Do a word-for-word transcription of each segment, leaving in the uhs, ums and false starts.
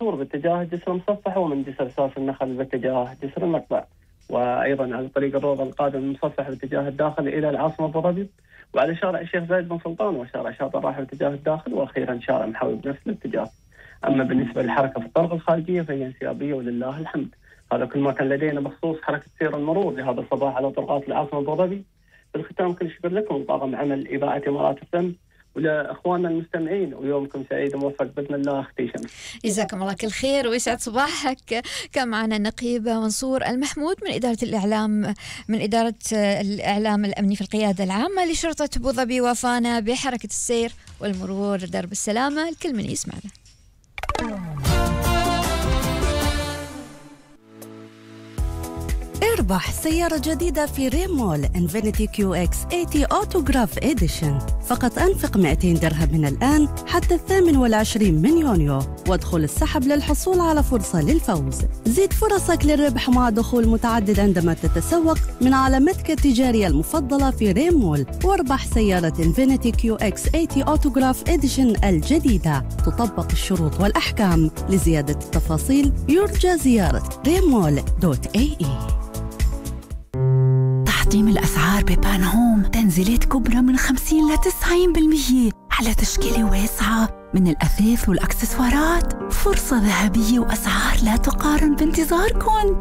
منصور باتجاه جسر المصفح، ومن جسر سوس النخل باتجاه جسر المقطع، وأيضا على طريق الروضة القادم من المصفح باتجاه الداخل إلى العاصمة أبو ظبي، وعلى شارع الشيخ زايد بن سلطان وشارع شاطئ الراحة باتجاه الداخل، وأخيرا شارع محاوي بنفس الاتجاه. أما بالنسبة للحركة في الطرق الخارجية فهي انسيابية ولله الحمد. هذا كل ما كان لدينا بخصوص حركة سير المرور لهذا الصباح على طرقات العاصمة أبو ظبي. بالختام كل شكر لكم طاقم عمل إذاعة إمارات الفم، ولأخواننا المستمعين، ويومكم سعيد وموفق بإذن الله. أختي شمس، جزاكم الله كل خير ويسعد صباحك. كان معنا النقيب منصور المحمود من إدارة الإعلام من إدارة الإعلام الأمني في القيادة العامة لشرطة أبو ظبي، وفانا بحركة السير والمرور درب السلامة. الكل من يسمعنا. اربح سيارة جديدة في ريمول إنفينيتي كيو إكس ثمانين أوتوغراف إديشن. فقط أنفق مئتين درهم من الآن حتى الثامن والعشرين من يونيو، وادخل السحب للحصول على فرصة للفوز. زيد فرصك للربح مع دخول متعدد عندما تتسوق من علامتك التجارية المفضلة في ريمول، واربح سيارة إنفينيتي كيو إكس ثمانين أوتوغراف إديشن الجديدة. تطبق الشروط والأحكام. لزيادة التفاصيل يرجى زيارة ريمول دوت اي اي. تحطيم الأسعار ببان هوم، تنزيلات كبرى من خمسين إلى تسعين بالمية على تشكيلة واسعة من الأثاث والأكسسوارات. فرصة ذهبية وأسعار لا تقارن بانتظاركم.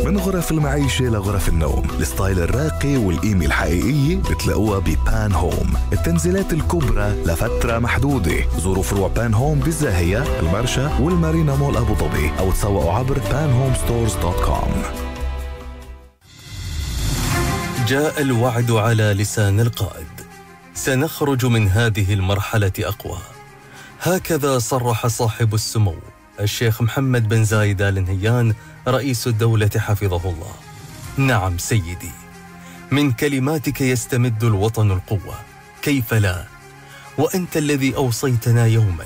من غرف المعيشة لغرف النوم، الستايل الراقي والقيمة الحقيقية بتلاقوها ببان هوم. التنزيلات الكبرى لفترة محدودة. زوروا فروع بان هوم بالزاهية، المرشا والمارينا مول أبو ظبي، أو تسوقوا عبر بان هوم ستورز دوت كوم. جاء الوعد على لسان القائد. سنخرج من هذه المرحلة أقوى. هكذا صرح صاحب السمو الشيخ محمد بن زايد آل نهيان رئيس الدولة حفظه الله. نعم سيدي، من كلماتك يستمد الوطن القوة، كيف لا؟ وأنت الذي أوصيتنا يوما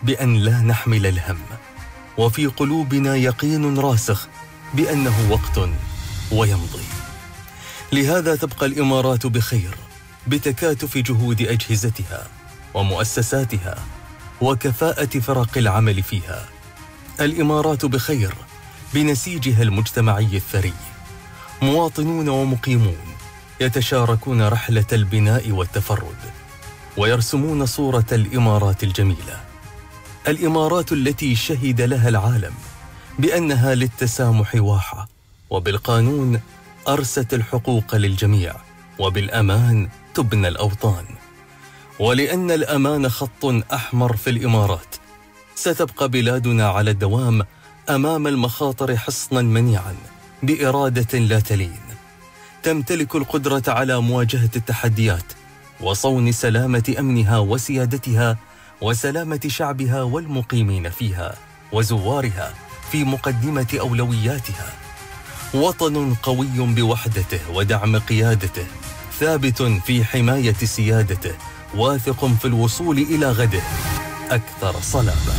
بأن لا نحمل الهم، وفي قلوبنا يقين راسخ بأنه وقت ويمضي. لهذا تبقى الإمارات بخير بتكاتف جهود أجهزتها ومؤسساتها وكفاءة فرق العمل فيها. الإمارات بخير بنسيجها المجتمعي الثري. مواطنون ومقيمون يتشاركون رحلة البناء والتفرد، ويرسمون صورة الإمارات الجميلة. الإمارات التي شهد لها العالم بأنها للتسامح واحة، وبالقانون أرست الحقوق للجميع، وبالأمان تبنى الأوطان. ولأن الأمان خط أحمر في الإمارات، ستبقى بلادنا على الدوام أمام المخاطر حصنا منيعا بإرادة لا تلين. تمتلك القدرة على مواجهة التحديات وصون سلامة أمنها وسيادتها وسلامة شعبها والمقيمين فيها وزوارها في مقدمة أولوياتها. وطن قوي بوحدته ودعم قيادته، ثابت في حماية سيادته، واثق في الوصول إلى غده أكثر صلابة.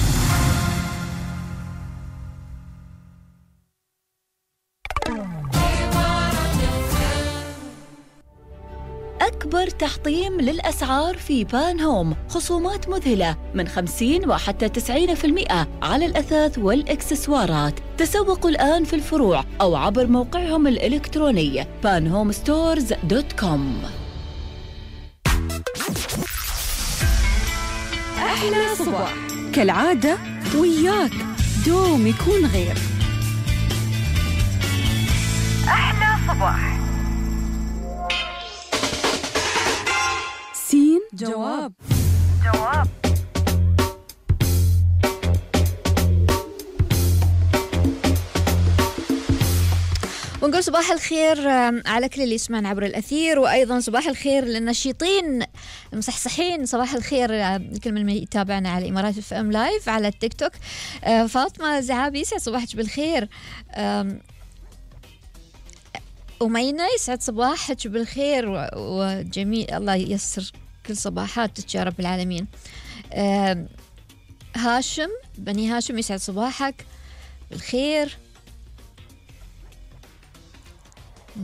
أكبر تحطيم للأسعار في بان هوم، خصومات مذهلة من خمسين وحتى تسعين بالمئة على الأثاث والإكسسوارات. تسوقوا الآن في الفروع أو عبر موقعهم الإلكتروني بان هوم ستورز دوت كوم. أحلى صباح كالعادة وياك دوم يكون غير. أحلى صباح. سين جواب جواب ونقول صباح الخير على كل اللي يسمعنا عبر الأثير، وأيضا صباح الخير للنشيطين المصحصحين. صباح الخير لكل من يتابعنا على إمارات اف ام لايف على التيك توك. فاطمة زعابي يسعد صباحك بالخير. أمينة يسعد صباحك بالخير وجميل، الله ييسر كل صباحاتك يا رب العالمين. هاشم بني هاشم يسعد صباحك بالخير.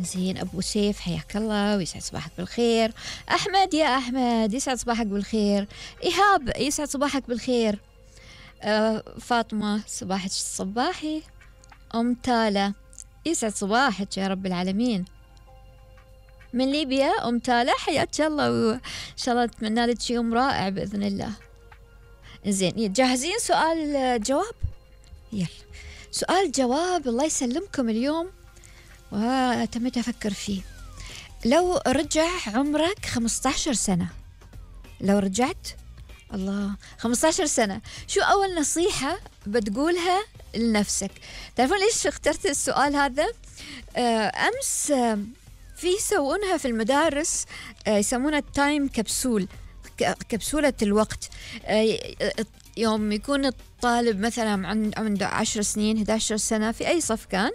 زين أبو سيف حياك الله ويسعد صباحك بالخير. أحمد يا أحمد يسعد صباحك بالخير. إيهاب يسعد صباحك بالخير. آه فاطمة صباحك الصباحي. أم تالا يسعد صباحك يا رب العالمين. من ليبيا أم تالا حياك الله، وإن شاء الله أتمنى لك يوم رائع بإذن الله. زين جاهزين سؤال جواب؟ يلا سؤال جواب الله يسلمكم اليوم وتمت أفكر فيه. لو رجع عمرك خمسة عشر سنة، لو رجعت الله خمسة عشر سنة، شو أول نصيحة بتقولها لنفسك؟ تعرفون ليش اخترت السؤال هذا؟ أمس في يسوونها في المدارس، يسمونها التايم كبسول، كبسولة الوقت. يوم يكون الطالب مثلا عنده عشر سنين إحدى عشرة سنة في أي صف كان،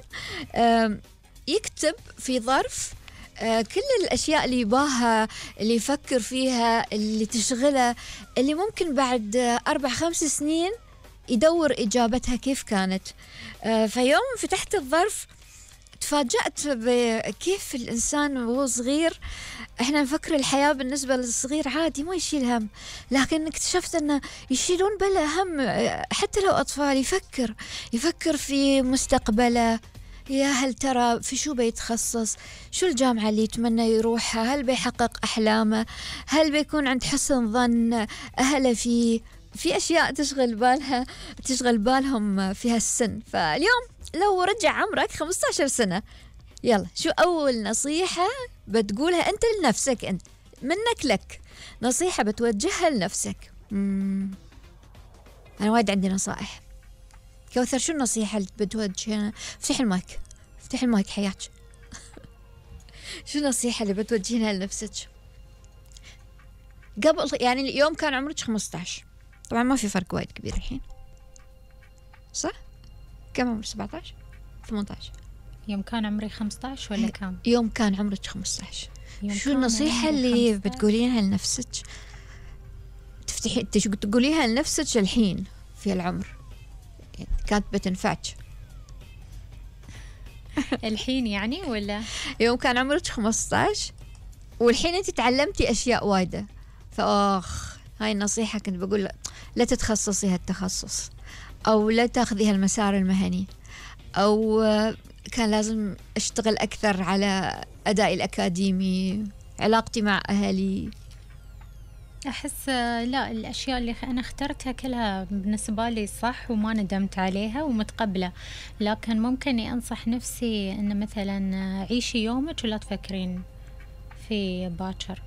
يكتب في ظرف كل الأشياء اللي يباها، اللي يفكر فيها، اللي تشغله، اللي ممكن بعد أربع خمس سنين يدور إجابتها كيف كانت. فيوم فتحت الظرف تفاجأت بكيف الإنسان وهو صغير إحنا نفكر الحياة بالنسبة للصغير عادي ما يشيل هم، لكن اكتشفت أنه يشيلون بلا هم حتى لو أطفال. يفكر يفكر في مستقبله، يا هل ترى في شو بيتخصص، شو الجامعة اللي يتمنى يروحها، هل بيحقق أحلامه، هل بيكون عند حسن ظن أهله فيه. في أشياء تشغل بالها تشغل بالهم في هالسن. فاليوم لو رجع عمرك خمسة عشر سنة، يلا شو أول نصيحة بتقولها أنت لنفسك، أنت منك لك نصيحة بتوجهها لنفسك؟ مم. أنا وايد عندي نصائح. كوثر شو النصيحة اللي بتوجهها؟ افتح المايك افتح المايك حياك. شو النصيحة اللي بتوجهينها لنفسك قبل، يعني اليوم كان عمرك خمسة عشر، طبعا ما في فرق وايد كبير الحين صح؟ كم عمرك؟ سبعة عشر ثمانية عشر؟ يوم كان عمري خمسة عشر ولا كم؟ يوم كان عمرك خمسة عشر. شو النصيحة اللي بتقولينها لنفسك؟ تفتحي تقوليها لنفسك الحين في العمر كانت بتنفعك الحين يعني، ولا يوم كان عمرك خمسة عشر والحين انت تعلمتي اشياء وايدة، فاخ هاي النصيحة كنت بقول لا تتخصصي هالتخصص، او لا تاخذي هالمسار المهني، او كان لازم اشتغل اكثر على ادائي الاكاديمي، علاقتي مع اهلي. أحس لا، الأشياء اللي أنا اخترتها كلها بالنسبة لي صح وما ندمت عليها ومتقبلة، لكن ممكن أنصح نفسي أن مثلا عيشي يومك ولا تفكرين في باكر.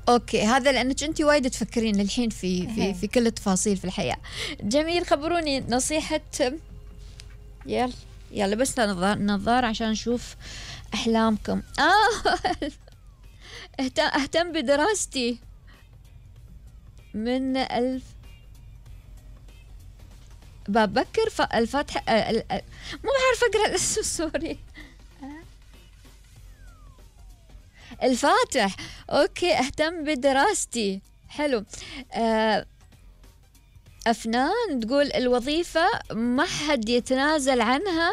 أوكي، هذا لأنك أنت وايد تفكرين الحين في في في كل التفاصيل في الحياة. جميل، خبروني نصيحة. يلا يلا بس نظار نظار عشان نشوف أحلامكم. آه أهتم بدراستي من ألف ببكر الفاتحة، مو بعرف أقرأ الاسم سوري. الفاتح. أوكي، أهتم بدراستي، حلو. أفنان تقول الوظيفة ما حد يتنازل عنها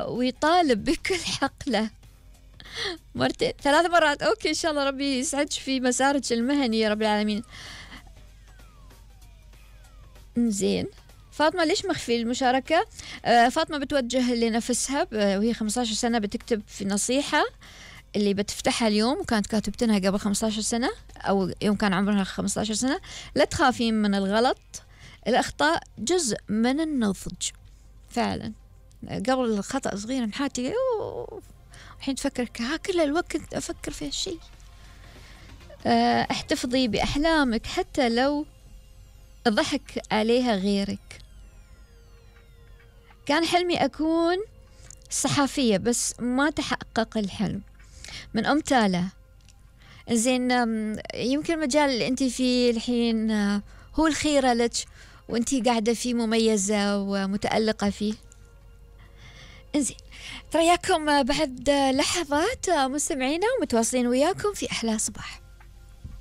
ويطالب بكل حقله. مرتين ثلاث مرات. أوكي، إن شاء الله ربي يسعدك في مسارك المهني يا رب العالمين. زين، فاطمة ليش مخفي المشاركة؟ آه فاطمة بتوجه لنفسها وهي خمسة عشر سنة، بتكتب في نصيحة اللي بتفتحها اليوم وكانت كاتبتنها قبل خمسة عشر سنة أو يوم كان عمرها خمسة عشر سنة. لا تخافين من الغلط، الأخطاء جزء من النضج. فعلا قبل الخطأ صغير محاتي الحين تفكر ها كل الوقت أفكر في هالشيء. احتفظي بأحلامك حتى لو ضحك عليها غيرك. كان حلمي أكون صحفية بس ما تحقق الحلم. من أم تالا. زين، يمكن المجال اللي أنت فيه الحين هو الخيرة لك وأنت قاعدة فيه مميزة ومتألقة فيه. انزين، ترياكم بعد لحظات مستمعينا ومتواصلين وياكم في أحلى صباح.